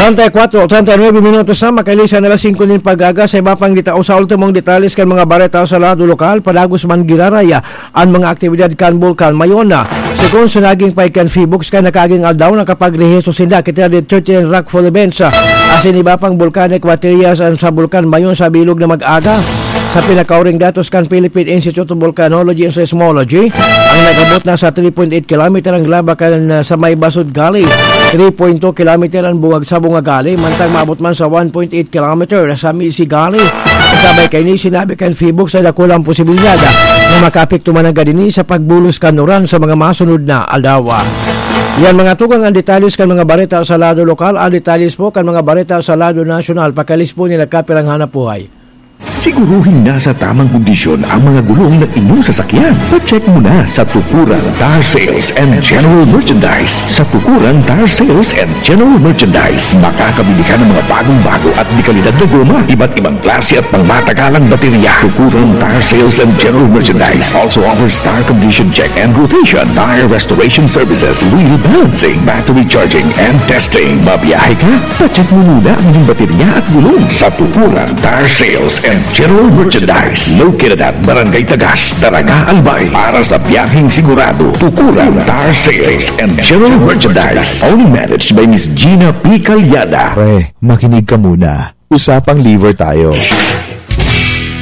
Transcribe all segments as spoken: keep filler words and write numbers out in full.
Treinta y cuatro, treinta y nueve minutos na, makahiling sa alas singko nin pag-aga. Sa iba pang deta-, o sa ultimong detalles kan mga bareta sa lado lokal, padagos man giraraya an mga aktibidad kan Bulkan Mayon. Segun sa naging pahayag kan Phoebooks, kan nakaaging aldaw nakapagrehisto sinda kita di thirty-nine rockfall events, ah, asin iba pang volcanic materials an sa Bulkan Mayon sa bilog na mag-aga. Sa pinakauring datos kan Philippine Institute of Volcanology and Seismology, ang nag-abot na sa three point eight kilometer ang laba kan, ah, sa may Basud Gully, three point two kilometer ang bungag sa Bunga Gully, mantang maabot man sa one point eight kilometer sa Misi Gully. Kasabay kaini, sinabi kan Phoebooks na dakula ang posibilidad, ah, na makaapekto man ang gadini sa pagbulos kan uran sa mga masunod na aldaw. Yan, mga tugang, ang detalles kan mga bareta sa lado lokal. Ang detalles po kan mga bareta sa lado nasyonal, pakalis po ni nagkapirang hanap buhay. Siguruhing nasa tamang kondisyon ang mga gulong ng inyong sasakyan. Pa-check muna sa Tukuran Tire Sales and General Merchandise. Sa Tukuran Tire Sales and General Merchandise, makakabili ka ng mga bagong-bago at dekalidad na goma, iba't ibang klase at pangmatagalang baterya. Tukuran Tire Sales and General Merchandise also offers tire condition check and rotation, tire restoration services, wheel balancing, battery charging, and testing. Mabiyahe ka? Pa-check mo muna ang iyong baterya at gulong sa Tukuran Tire Sales and General Merchandise. Located at Barangay Tagas, Daraga, Albay. Para sa biyaheng sigurado, Tukuran Tire Sales and General Merchandise. Only managed by Miss Gina P. Calyada. Pre, makinig ka muna. Usapang liver tayo.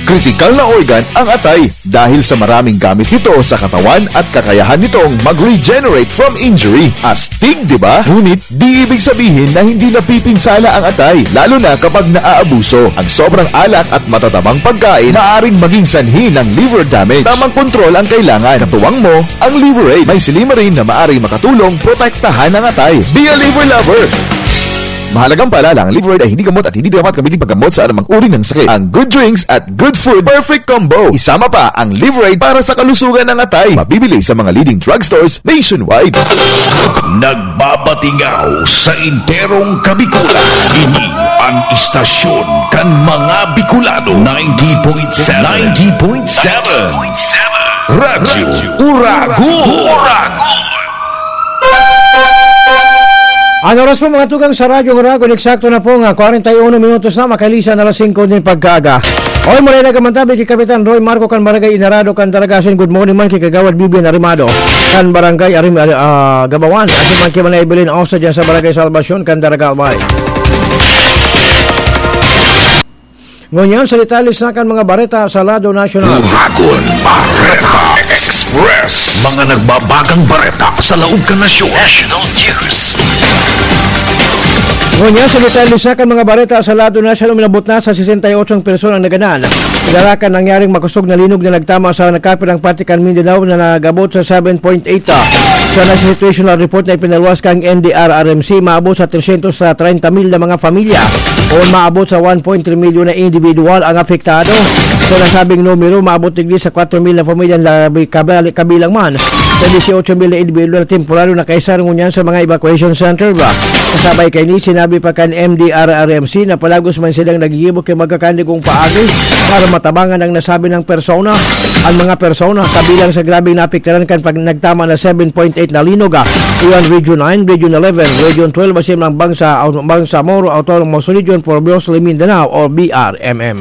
Kritikal na organ ang atay dahil sa maraming gamit nito sa katawan at kakayahan nitong mag-regenerate from injury. Astig, di ba? Ngunit di ibig sabihin na hindi napipinsala ang atay, lalo na kapag naaabuso. Ang sobrang alak at matatabang pagkain maaring maging sanhi ng liver damage. Tamang kontrol ang kailangan. Katuwang mo ang Liver Aid. May silymarin na maaring makatulong protektahan ang atay. Be a liver lover! Mahalagang paalala, ang Liver Aid ay hindi gamot at hindi dapat gamitin paggamot sa anumang uri ng sakit. Ang good drinks at good food, perfect combo. Isama pa ang Liver Aid para sa kalusugan ng atay. Mabibili sa mga leading drugstores nationwide. Nagbabatingaw sa enterong Kabikulan. Ini ang istasyon kan mga Bicolano. Ninety point seven. Ninety point seven. Radyo Uragon. Uragon. Ang oras po, mga tugang, sa Radyo Uragon, eksakto na po nga kwarenta y uno minutos na, makalisan alas singko nin pagkaaga. Oy, maray na kamantabi ki Kapitan Roy Marco kan Barangay Inarado kan Daragasin. Good morning man ki Kagawad Bibian Arimado kan Barangay Arim-, ah, Gabawan. At man ki Manay Evelyn Osa dyan sa Barangay Salvacion kan Daraga, Albay. Ngunyan sa detalye sa kan mga bareta sa lado nasyonal. Uragon Bareta Express. Mga nagbabagang bareta sa laog kan nasyon. National News. Ngunyan sa detalye sa kan mga bareta sa lado nasyonal, minabot na sa sesenta y otso ang persona ang nagadan. Pinarakan nangyaring makosog na linog na nagtama sa nagkapirang parte kan Mindanao na nagabot sa seven point eight, ah, sa National Situational Report na ipinaluwas kang N D R R M C, maabot sa tresyentos treinta mil na mga pamilya o maabot sa one point three milyon na individual ang apektado. Sa nasabing numero, maabot digdi sa kwatro mil na pamilya ang labi-, kabali-, kabilang man sa dieciocho mil na individual na temporaryo na kaisar ngunyan sa mga evacuation center ba. Kasabay kaini, sinabi pa kan M D R R M C na palagos man silang nagigibo ki magkakanigong paagi para matabangan ang nasabi ng persona. Ang mga persona kabilang sa grabeng naapektaran kan pag nagtama na seven point eight na linog, ah, iyan Region nine, Region eleven, Region twelve, asin ang Bangsa-, Bangsamoro Autonomous Region for Mostly Mindanao o B R M M.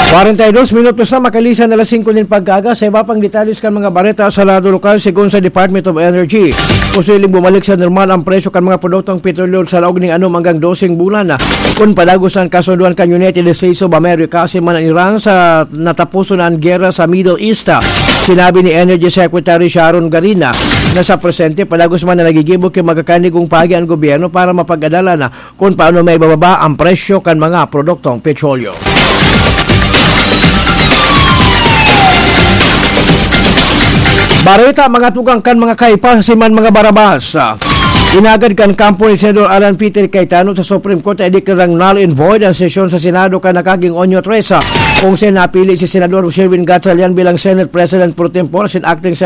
Kwarenta y dos minutos na makalisan alas singko nin pagkaaga. Sa iba pang detalles kan mga bareta sa lado lokal, segun sa Department of Energy, posibleng bumalik sa normal ang presyo kan mga produktong petrolyo sa laog ning anom hanggang doseng bulan na, kun padagos an kasundoan kan United States of America asin man an Iran sa nataposon na an gera sa Middle East. Sinabi ni Energy Secretary Sharon Garin na sa presente, padagos man na nagigibo ki magkakanigong paagi an gobyerno para mapag-adalan na kun paano maibababa ang presyo kan mga produktong petrolyo. Bareta, mga tugang kan mga Kaypas asin man mga Barabas. Inagad kan kampo ni Senador Alan Peter Cayetano sa Supreme Court na ideklarang null and void ang sesyon sa Senado kan nakaging Onyo tres, kung saan napili si Senador Sherwin Gatchalian bilang Senate President pro tempore asin acting